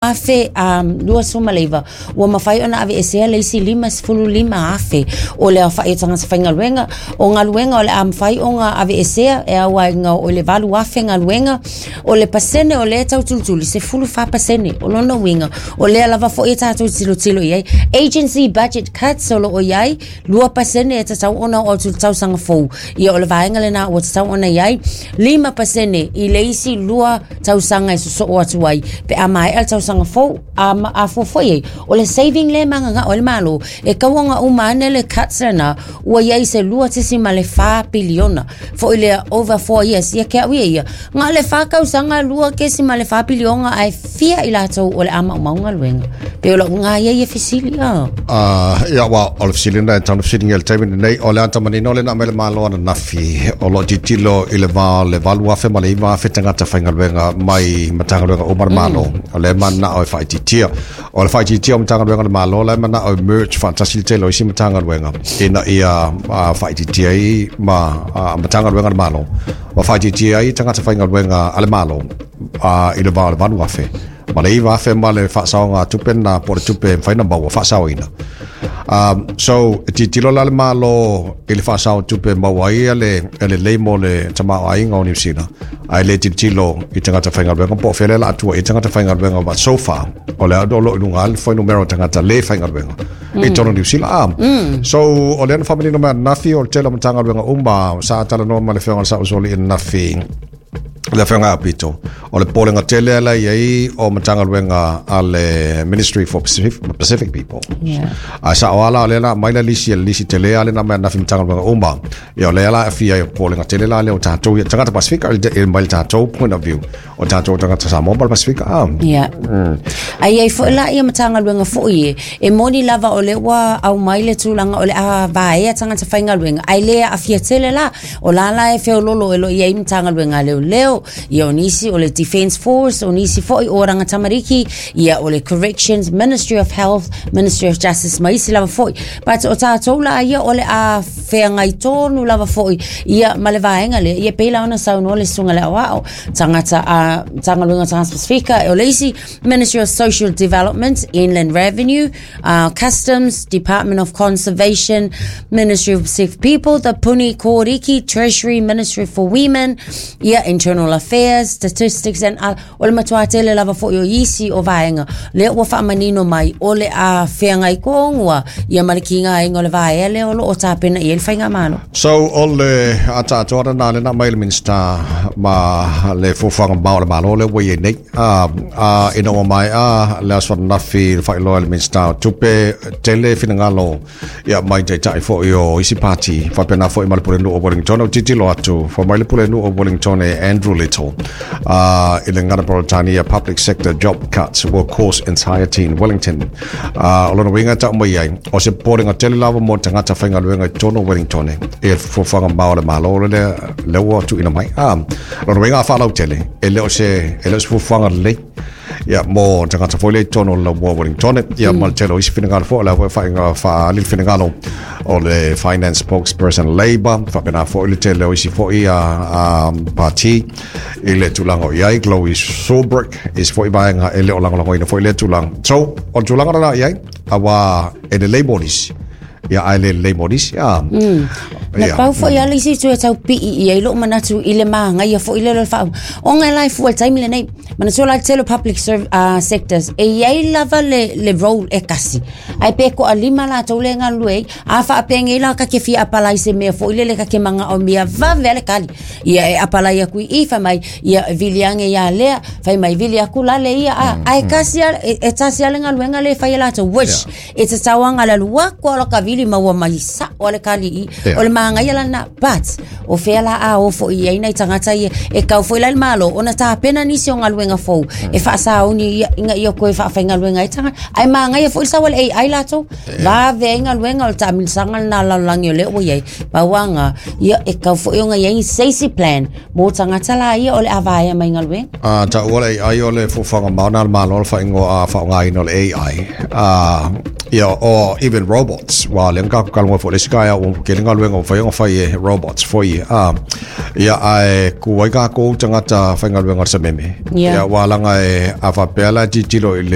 2029, ua mafai ona aveesea le isi 55,000 o le aofai o tagata faigaluega. O galuega o le a mafai ona aveesea e auaiga o le 8,000 galuega. O le pasene o lea e tau tulituli, 14%. O lona uiga, o lea lava foi e tatou tilotilo i ai. Agency budget cuts o lo o i ai, 2% e tatau ona oo atu i le tausaga fou. Ia o le vaega lena ua tatau ona i ai 5% i le isi 2 tausaga e sosoo atu ai pe a maea le tausaga fou. A, a fuafua i ai, o le saving lea e mananao ai le Malo, e tau ona uma ane le cuts lena, ua i ai se 2.4 piliona. Foi lea over 4 years, ia ke au ia ia, na o le 4 tausaga 2.4 piliona ae fia i latou o le a maumau galuega. Pei o lau uiga ia ia fesili. Ah. Ia, aua o le fesili lena e tatau ona fesiligia i le taimi lenei. O le ata manino lea na aumai le Malo ananafi, o lo o tilotilo i le va o le 8,000 ma le 9,000 tagata faigaluega mai Matagaluega uma a le Malo. O lea e mananao e faaitiitia. O le faaitiitia o Matagaluega a le Malo, la e manao e merge faatasi le tele o isi Matagaluega ina ia faaitiitia ai ma Matagaluega a le Malo ma faaitiitia ai tagata faigaluega a le Malo i le va o le 8,000 ma le 9,000 ma le faasaoga tupe lena po o le tupe e mafai ona maua faasaoina. So, e tilotilo la le Malo i le faasao tupe e maua ai e lelei mo le tamaoaiga o Niu Sila, ae le tilotilo i tagata faigaluega po o fea lea o le a tua i ai tagata faigaluega. But so far, o lea o lo o i luga lava le fuainumera o tagata le faigaluega i totonu o Niu Sila. So, o lea na faamanino mai ananafi o le tele o Matagaluega uma sa talanoa ma le Afioga i le Sao Soli ananafi, le Afioga ia Pito, o le popolega tele la i ai o Matagaluega a le Ministry for Pacific People. A sao lava la, o lea la aumai la lisi, le lisi tele lava lea na aumai ananafi Matagaluega uma. Ia o lea la e aafia ai o popolega tele la lea o tatou ia tagata Pasifika i mai le tatou point of view o tatou tagata Samoa ma le Pasifika. Ah. Yeah. Ae i ai foi la ia Matagaluega foi e moni lava o lea ua aumai le tulaga o le a vaea tagata faigaluega, ae le aafia tele la. O la la e feololo e lo i ai Matagaluega a Leoleo, ia o nisi o le Defence Force, o nisi foi o Oranga Tamariki, ia o le Corrections, Ministry of Health, Ministry of Justice ma isi lava foi. But o tātou la ia o le a feagai tonu lava foi ia ma le vaega lea, ia pei la ona saunoa le Susuga i le Aoao, tagata a Matagaluega o Tagata Pasifika, o le isi Ministry of Social Development, Inland Revenue, Customs, Department of Conservation, Ministry of Pacific People, the Puni Kōriki, Treasury, Ministry for Women, ia, Internal Affairs, Statistics and other. O le matua tele lava foi o isi o vaega, lea ua faamanino mai o le a feagai tonu lava ia ma le kigaina o le vaea lea o lo o tapena i ai le faigamalo. So, o le ataatoa lena lea na aumai e le Minisita ma le fuafuaga mamao a le Malo lea ua i ai nei. A ina ua maea le aso ananafi le faailoa e le Minisita o Tupe, tele finagalo ia mai taitai foi o isi pati, faapena foi ma le Pulenuu o Wellington. O tilotilo atu, fai mai le Pulenuu o Wellington e Andrew Little i le gagana Peretania, public sector job cuts will cause anxiety in Wellington. O lona uiga e tau mai ai, o se popolega tele lava mo tagata faigaluega i totonu o Wellington e fuafuaga mamao a le Malo lea, lea ua tuuina mai. Lona uiga a faalautele, e le o se, e le o se fuafuaga lelei ia mo tagata foi lea i totonu o le laumua o Wellington ia ma le tele o isi finagalo foi o lea foi e faaali le finagalo o le finance spokesperson Labour faapena foi le tele o isi foi a pati i le tulaga o i ai Chloe Swarbrick isi foi vaega e le o lagolagoina foi lea tulaga. So o le tulaga lena i ai aua e lelei mo nisi ia ae le lelei mo nisi. Na pau foi lava le isi itu e tau pii i ai lou manatu i le magaia foi lea o le faa... Ona e la e fua i le taimi lenei, manatua la le tele o public sectors, e i ai lava le role e tasi. Ae pe toalima latou lea e galulue ai, a faapea nei la ta te fia apalai i se mea foi lele ta te manaomia vave lava le tali. Ia e apalai atu i i, fai mai, ia vili ane ia lea, fai mai vili atu la le ia, ae tasi lava, e tasi lava le galuega lea e fai e latou, which E tatau lava ona alu atu lava lota vili ma ua mai sao lava le kali i. O le magaia la lena, but o fea la a o foi i ai nai tagata ia, e tau foi la i le Malo ona tapena nisi o galuega fou e faasauni ina ia toe faafaigaluega ai tagata. Ae magaia foi le sau a le AI latou, vave ai galuega o le taamilisaga lena a le lalolagi o lea ua i ai. Pau lava lena, ia e tau foi ona i ai se isi plan mo tagata la ia o le a vaea mai galuega. A taua le AI o le fuafuaga mamao lena a le Malo o le faaigoa faaaogaina o le AI. Ia, or even robots. Ua Aua le ka ka fo le isi taeao ua tele galuega ua mafai ona fai e robots foi a. Ia ae ku ai tatou tagata faigaluega o le sameme. Ia aua laga e a faapea la tilotilo i le